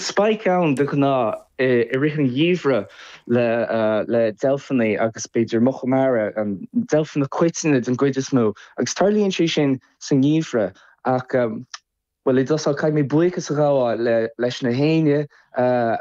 spike ann de ghnáth i rith an gheimhridh le le deilfeanna agus b'fhéidir muca mara, deilfeanna coiteanna den gcuid is mó, agus tarlaíonn sé sin sa ngeimhreadh ach, bhuel, i dtosach caithfidh mé buíochas a ghabháil leis na héinne a.